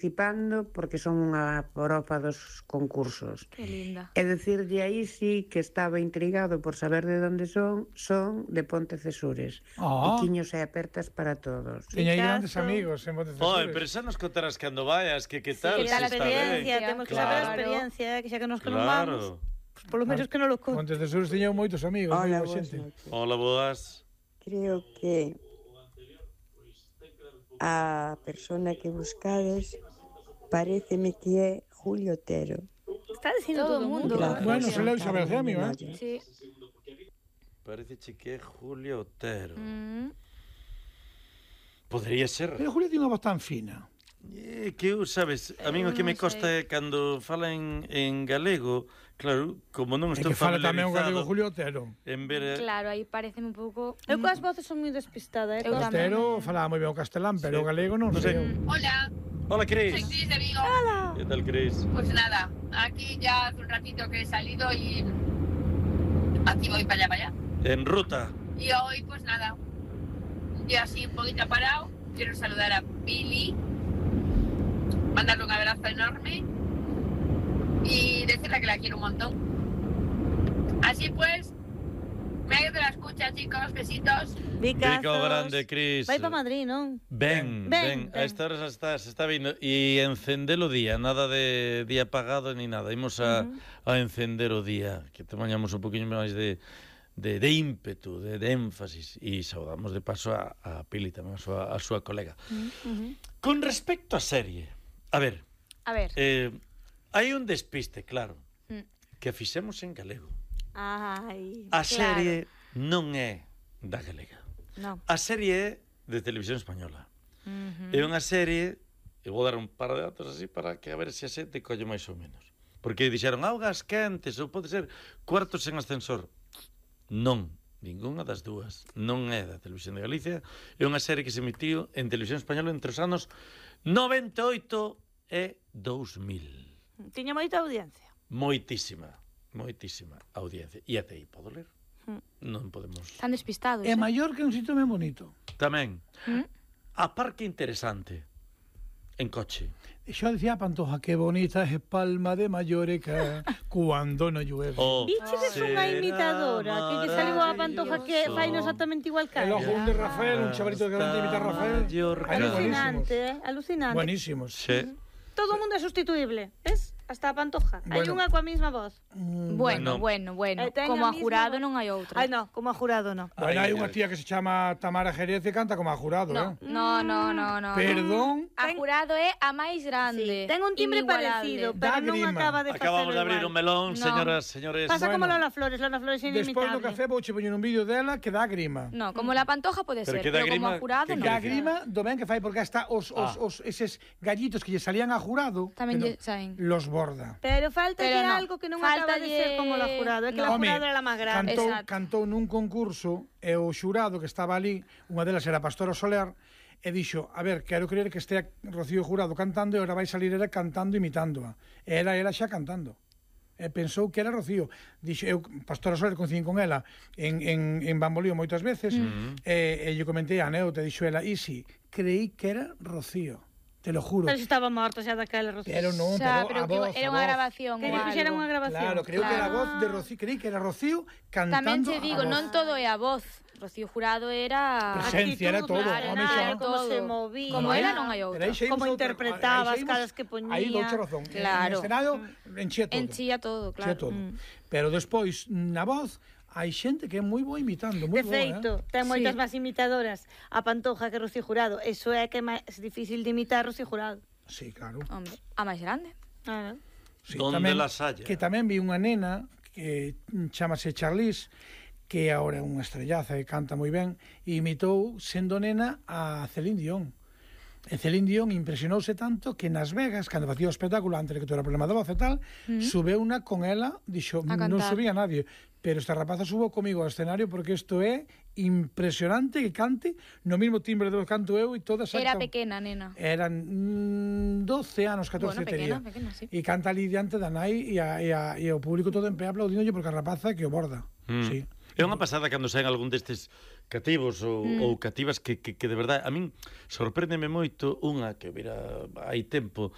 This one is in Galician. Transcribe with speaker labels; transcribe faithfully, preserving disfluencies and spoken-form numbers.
Speaker 1: participando porque son unha profa dos concursos.
Speaker 2: Que linda.
Speaker 1: E decirlle aí sí que estaba intrigado por saber de onde son, son de Pontecesures.
Speaker 3: Ah.
Speaker 1: Piquiños e apertas para todos.
Speaker 3: Teña aí grandes amigos en Pontecesures.
Speaker 4: Oi, pero xa nos contarás cando vayas, que que tal,
Speaker 2: que
Speaker 4: se
Speaker 2: tal a
Speaker 4: está
Speaker 2: experiencia,
Speaker 4: ben.
Speaker 2: temos que
Speaker 4: Claro.
Speaker 2: saber a experiencia, que xa que nos que non vamos,
Speaker 4: Claro.
Speaker 2: pues polo menos que non lo conte.
Speaker 3: Pontecesures teña moitos amigos,
Speaker 1: Hola,
Speaker 3: moi boa
Speaker 1: boas
Speaker 3: xente.
Speaker 1: noches.
Speaker 4: Hola, boas.
Speaker 1: Creo que a persona que buscades paréceme que é Julio Otero.
Speaker 2: Está dicindo todo o mundo.
Speaker 1: Gracias.
Speaker 3: Bueno, se leu Isabel Gemio, eh?
Speaker 2: Sí.
Speaker 4: Parece que é Julio Otero.
Speaker 2: Mm.
Speaker 4: Podría ser.
Speaker 3: Pero Julio tiene unha voz tan fina.
Speaker 4: Eh, que eu, sabes, a min o que me costa é cando fala en, en galego, claro, como non
Speaker 3: É
Speaker 4: estou
Speaker 3: que fala tamén o galego
Speaker 4: familiarizado
Speaker 3: Julio Otero.
Speaker 4: en ver...
Speaker 2: Claro, aí pareceme un pouco...
Speaker 5: Eu coas voces son moi despistada, eh?
Speaker 2: Eu tamén.
Speaker 3: Otero falaba moi ben o castelán, pero
Speaker 4: Sí.
Speaker 3: o galego non
Speaker 4: Non sei.
Speaker 3: sei.
Speaker 6: Hola,
Speaker 4: Hola, Cris.
Speaker 6: soy Cris de Vigo.
Speaker 4: Que tal, Cris?
Speaker 6: Pues nada, aquí ya hace un ratito que he salido y aquí voy para allá, para allá.
Speaker 4: En ruta.
Speaker 6: Y hoy, pues nada, un día así un poquito parado. Quiero saludar a Pili, mandarle un abrazo enorme y decirle que la quiero un montón. Así pues, me ha ido de la escucha, chicos, besitos.
Speaker 2: Vicazos.
Speaker 4: Rico grande, Cris.
Speaker 2: Vai para Madrid, non?
Speaker 4: Ben,
Speaker 2: Ben,
Speaker 4: ben, a
Speaker 2: ben.
Speaker 4: esta hora xa está, se está vindo. E encender o día, nada de día apagado ni nada. Imos a, a encender o día, que temañamos un poquinho máis de, de, de ímpetu, de, de énfasis. E saudamos de paso a, a Pili tamén, a súa, a súa colega.
Speaker 2: Uh-huh.
Speaker 4: Con respecto á serie, a ver,
Speaker 2: A ver.
Speaker 4: eh, hai un despiste, claro,
Speaker 2: Mm.
Speaker 4: que a fixemos en galego.
Speaker 2: Ai,
Speaker 4: A
Speaker 2: claro.
Speaker 4: serie non é da galega.
Speaker 2: No.
Speaker 4: A serie é de Televisión Española.
Speaker 2: Uh-huh.
Speaker 4: É unha serie, eu vou dar un par de datos así para que a ver se a xente colle máis ou menos. Porque dixeron augas quentes ou pode ser cuartos en ascensor. Non, ningunha das dúas. Non é da Televisión de Galicia. É unha serie que se emitiu en Televisión Española entre os anos noventa e oito e dous mil.
Speaker 2: Tiña moita audiencia.
Speaker 4: Moitísima, moitísima audiencia. E até aí podo ler. Non podemos...
Speaker 2: Están despistados.
Speaker 3: É
Speaker 2: eh?
Speaker 3: maior que un sitio ben bonito.
Speaker 4: Tamén,
Speaker 2: Mm.
Speaker 4: a parque interesante en coche.
Speaker 3: E xa dicía a Pantoja, que bonita é Palma de Mallorca cuando no llueve.
Speaker 4: Oh,
Speaker 5: Viches unha imitadora que lle saliu a Pantoja que fai exactamente igual que
Speaker 3: El
Speaker 5: ela.
Speaker 3: ojo un de Rafael, un chavalito que van a imitar a Rafael.
Speaker 4: Mallorca.
Speaker 3: Ay,
Speaker 5: Alucinante, eh? Alucinante.
Speaker 3: Buenísimos.
Speaker 4: Sí.
Speaker 5: Todo o mundo é sustituible, ves? Hasta a Pantoja. Hai
Speaker 3: Bueno.
Speaker 5: unha coa mesma voz.
Speaker 2: Bueno, bueno, bueno.
Speaker 5: Eh, ten
Speaker 2: Como
Speaker 5: a
Speaker 2: a
Speaker 5: misma
Speaker 2: jurado
Speaker 5: voz.
Speaker 2: non hai outra.
Speaker 5: Ai, no, como a jurado, no.
Speaker 3: Bueno, hai
Speaker 4: Ay,
Speaker 3: unha
Speaker 4: ay.
Speaker 3: tía que se chama Tamara Jerez e canta como a jurado,
Speaker 2: No,
Speaker 3: eh?
Speaker 2: no, no, no, no.
Speaker 3: Perdón.
Speaker 2: A jurado é a máis grande.
Speaker 5: Ten un timbre
Speaker 2: inigualable.
Speaker 5: parecido, pero non
Speaker 3: Dágrima.
Speaker 5: acaba de facelo
Speaker 4: Acabamos de abrir
Speaker 5: igual.
Speaker 4: un melón,
Speaker 2: No.
Speaker 4: señoras, señores.
Speaker 5: Pasa como
Speaker 3: Bueno.
Speaker 5: Lola Flores, Lola Flores é
Speaker 3: Despois do
Speaker 5: inimitable.
Speaker 3: café vou che poñer un vídeo dela que dá grima.
Speaker 2: No, como la Pantoja pode
Speaker 4: Pero
Speaker 2: ser,
Speaker 4: que dá
Speaker 2: pero como
Speaker 4: grima,
Speaker 2: a jurado
Speaker 4: que
Speaker 2: non.
Speaker 3: Dá grima do ben que fai porque hasta os, os,
Speaker 4: Ah.
Speaker 3: os eses gallitos que lle salían a jurado
Speaker 2: Tamén
Speaker 3: que
Speaker 2: lle
Speaker 3: no-
Speaker 2: saen.
Speaker 3: los borda.
Speaker 5: Pero falta
Speaker 2: Pero no.
Speaker 5: algo que non acaba de ser
Speaker 2: Fáltalle-
Speaker 5: como la jurado, é que la
Speaker 2: No.
Speaker 5: jurado era la máis grande.
Speaker 3: Cantou,
Speaker 2: Exacto.
Speaker 3: cantou nun concurso e o xurado que estaba ali, unha delas era Pastora Soler, e dixo, a ver, quero creer que estea Rocío Jurado cantando e agora vai salir ela cantando imitándoa. E era ela xa cantando. E pensou que era Rocío. Dixo, eu, Pastora Soler, coincidín con ela en, en, en Bambolío moitas veces, mm. e, e lle comentei a Neo, te dixo ela, e si, creí que era Rocío. Te lo juro.
Speaker 5: Pero se estaba morto xa daquela, Rocío.
Speaker 3: Pero non,
Speaker 2: Xa,
Speaker 3: pero, a
Speaker 2: pero que
Speaker 3: voz,
Speaker 2: era
Speaker 3: a
Speaker 2: unha
Speaker 3: voz.
Speaker 2: grabación
Speaker 5: Que
Speaker 2: ou
Speaker 5: lle fixeran
Speaker 2: algo.
Speaker 5: unha grabación.
Speaker 3: Claro, creo que era a
Speaker 2: Claro.
Speaker 3: voz de Rocío, creí que era Rocío cantando
Speaker 2: Tamén che digo,
Speaker 3: a voz.
Speaker 2: non todo é a voz. Rocío Jurado era...
Speaker 3: Presencia, era todo.
Speaker 5: Claro,
Speaker 3: Home,
Speaker 5: nada,
Speaker 3: xa.
Speaker 5: como
Speaker 2: Todo.
Speaker 5: se movía.
Speaker 2: Como era, non hai
Speaker 3: Pero
Speaker 2: outra.
Speaker 3: aí xa imos
Speaker 5: Como
Speaker 3: outra-
Speaker 5: interpretaba,
Speaker 3: aí xa
Speaker 5: as
Speaker 3: imos-
Speaker 5: caras que poñía.
Speaker 3: Aí douche razón.
Speaker 2: Claro.
Speaker 3: En escenario enchía todo.
Speaker 2: Enchía todo, claro.
Speaker 3: Enchía todo.
Speaker 2: Mm.
Speaker 3: Pero despois, na voz, hai xente que é moi boa imitando, moi
Speaker 5: De
Speaker 3: boa,
Speaker 5: feito,
Speaker 3: eh?
Speaker 5: ten moitas
Speaker 2: Sí.
Speaker 5: máis imitadoras a Pantoja que Rocío Jurado. Eso é que é máis difícil de imitar Rocío Jurado.
Speaker 3: Sí, claro.
Speaker 2: Hombre, a máis grande.
Speaker 5: Ah,
Speaker 3: Sí,
Speaker 4: Donde las haya.
Speaker 3: Que tamén vi unha nena que chamase Charlize, que agora é unha estrellaza e canta moi ben, e imitou, sendo nena, a Celine Dion. E Celine Dion impresionouse tanto que nas Vegas, cando facía o espectáculo, antes de que tuera problema de voz e tal, mm. subeu unha con ela, dixo,
Speaker 2: A
Speaker 3: non
Speaker 2: cantar.
Speaker 3: subía nadie, pero esta rapaza subo comigo ao escenario porque isto é impresionante que cante no mismo timbre do que canto eu e todas
Speaker 2: Era
Speaker 3: actan-
Speaker 2: pequena, nena.
Speaker 3: Eran mm, doce anos, catorce
Speaker 2: Bueno,
Speaker 3: tería.
Speaker 2: pequena, pequena, sí.
Speaker 3: E canta ali diante da nai e, a, e, a, e o público todo en pé aplaudíndolle porque a rapaza que o borda.
Speaker 4: Mm.
Speaker 3: Sí.
Speaker 4: É unha pasada cando saen algún destes cativos ou,
Speaker 2: Mm.
Speaker 4: ou cativas que, que, que de verdade a min sorpréndeme moito unha que vira hai tempo